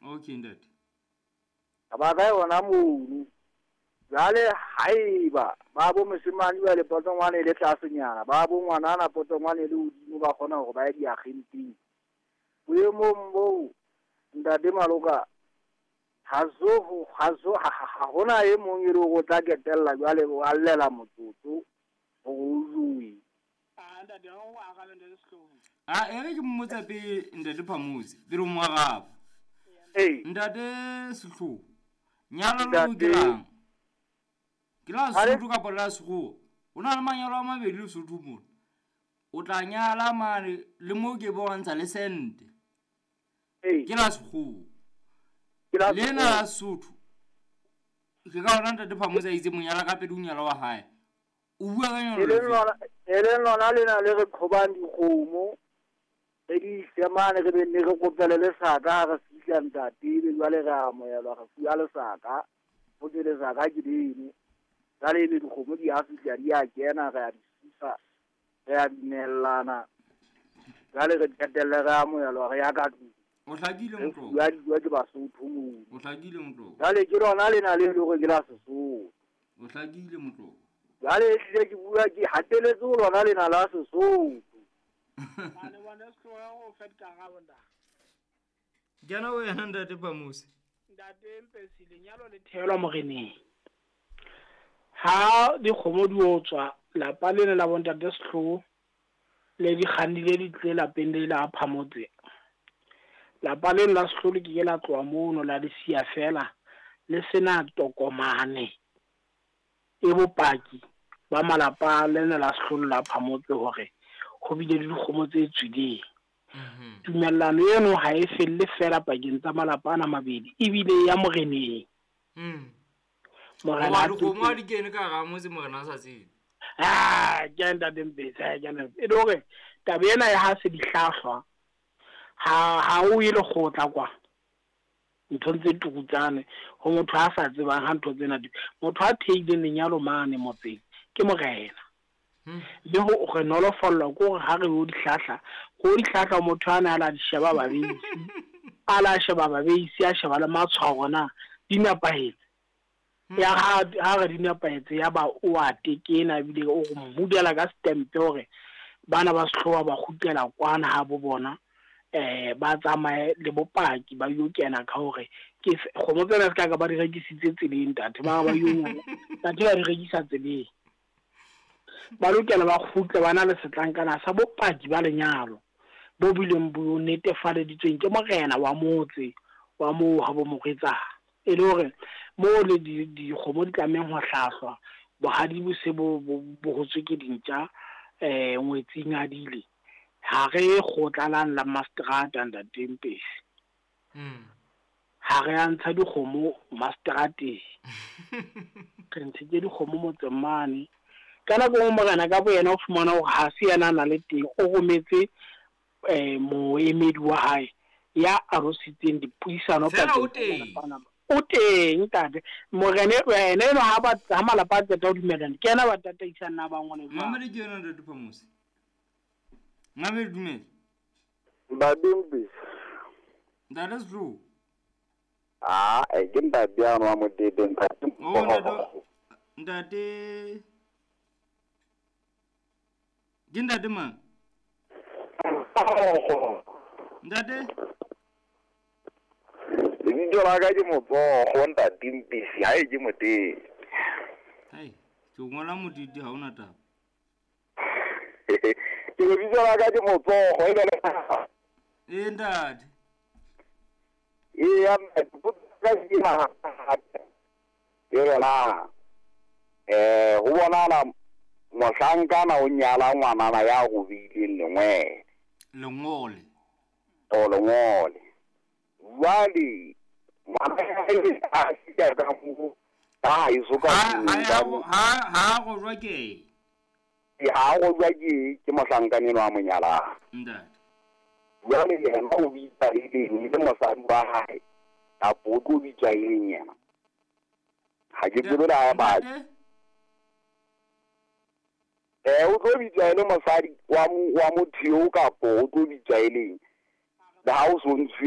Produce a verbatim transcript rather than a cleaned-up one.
Okay ntate. Ba ka yona mono. Jwale haeba ba bo moshemane ba le potongwane le tlasenyana, ba bo ngwanana potongwane le hodimo ba kgona hore ba ye diagenteng. Boemong boo ntate Maloka ha zo ha zo ha hona e mong e le hore o tla ketella jwale o allela motsotso hore o jowe. Ah ntate o arabe ntate Sehloho. Ah e re ke mmotsa pele ntate Phamotse pele o mo araba. Ee. Ntate Sehloho, nyalo leo ke lang? Ke la Sesotho kapa la Sekgowa? Ho na le manyalo a mabedi Lesotho mona. O tla nyala mane le moo ke bo ntsha le sente. Ee. Ke la Sekgowa. Ke la Lena la Sesotho. Ke ka hona ntate Phamotse a itse monyala ka pele o nyala wa hae. O bua ka nyalo E leng lefe? lona e leng lona lena le re qhobang dikgomo re di ise mane re be nne re kopele lesaka ha re fihla ntate, ebe jwale re amohelwa re fuwa lesaka. Ho thwe lesaka ke leno. Jwale ebe dikgomo di a fihla di a kena re a di susa, re a dumellana. Jwale re qetelle re amohelwa re ya ka tlung. O hlakile Re motloko. fuwa dijo ke Basotho mono. O hlakile motloko. Jwale ke lona lena le le hore ke la Sesotho. O hlakile motloko. Jwale ehlile ke bua ke hateletse ho lona lena la Sesotho. Mane bona Sehloho o fa dikarabo ntate. Kena wena ntate Phamotse. Ntate Mpesi, lenyalo le theelwa moreneng. Ha dikgomo di otswa lapa lena la bontate Sehloho le di kgannile di tle lapeng le la Phamotse. Lapa lena la Sehloho le ke ke la tloha mono la le siya fela le sena tokomane e bopaki ba malapa lena la Sehloho la Phamotse hore ho bile le dikgomo tse tswileng. Mhm. Tumellano eno ha e felle fela pakeng tsa malapa ana mabedi, ebile ya moreneng. Mm. Morena Hoba a dikgomo ha tlotle. di kene ka hara motse morena a sa tsebe. Ah, ke ntate Mpesi, ha ke ntate. E le hore taba ena ya ha se di hlahlwa, ha ha o ye lekgotla kwa. Nthong tse tukutsane ho motho a sa tsebang ha ntho tsena di. Motho a theileng lenyalo mane motseng ke morena. Hmm. Le ho re nolofallwa ke hore ha re yo di hlahla, ho di hlahla motho ana a la di sheba babeisi, a la sheba babeisi, a sheba le matshwao hore na di nepahetse. Ya ha ha re di nepahetse ya ba o a tekena ebile o re mmudela ka stempe hore bana ba Sehloho ba kgutlela kwana ha bo bona, eh ba tsamaye le bopaki ba yo kena ka hore ke kgomo tsena se ka ka ba di rekisitse tseleng ntate, ba ba yo nyala ntate ba di rekisa tseleng. Ba lokela ba kgutle ba na le setlankana sa bopaki ba lenyalo bo bileng bo netefaleditsweng ke morena wa motse wa moo ha bo morwetsana. E le hore moo le di dikgomo di tlamehang ho hlahlwa, bohadi bo se bo bo hotswe ke dintja eh ngwetsing a dile. Ha re kgotlalang la mastrata ntate Mpesi. Mm. Ha re a ntsha dikgomo mastrateng. Re ntshitse dikgomo motseng mane. Ka nako e nngwe morena ka bo yena o fumana hore ha se yena a na le teng, o rometse eh moemedi wa hae ya arositseng dipuisano Fela o pakeng tsa teng. malapa ana. O teng ntate. Morena ena eno ha ba ha malapa a qeta ho dumellana, ke yena ba tataisang na ba ngole jwang. Mamedi ke yena ntate Phamotse. Mamedi dumela. Ntate Mpesi. Ntate Sehloho. Ah, eh ke ntate ano wa Motete ntate. Oh ntate ntate Ke ntate mang? Ntate? Lebitso la ka ke Motsogo ntate Mpesi, ha e ke Motete. Hai, ke ngola Motete ha ona taba. Ke lebitso la ka ke Motsogo e le. Eh ntate. E ya ka ke ma. Ke rona. Eh ho bonala mohlankana o nyala ngwanana ya robileng lengwele. Lengole. O lengole. Jwale ngwana a fihla ka moo, ha e so ka Ha ha ha go jwa ke. Ha go jwa ke ke mohlankana enwa a mo nyalang. Ntate. Jwale yena o bitsa e leng le mosadi wa hae, kapa o tlo bitsa e leng yena. Ha ke tsebe le ha ba. Eh o tlo bitsa e le mosadi wa wa motho eo kapa o tlo bitsa e leng. Le ha o so ntshwe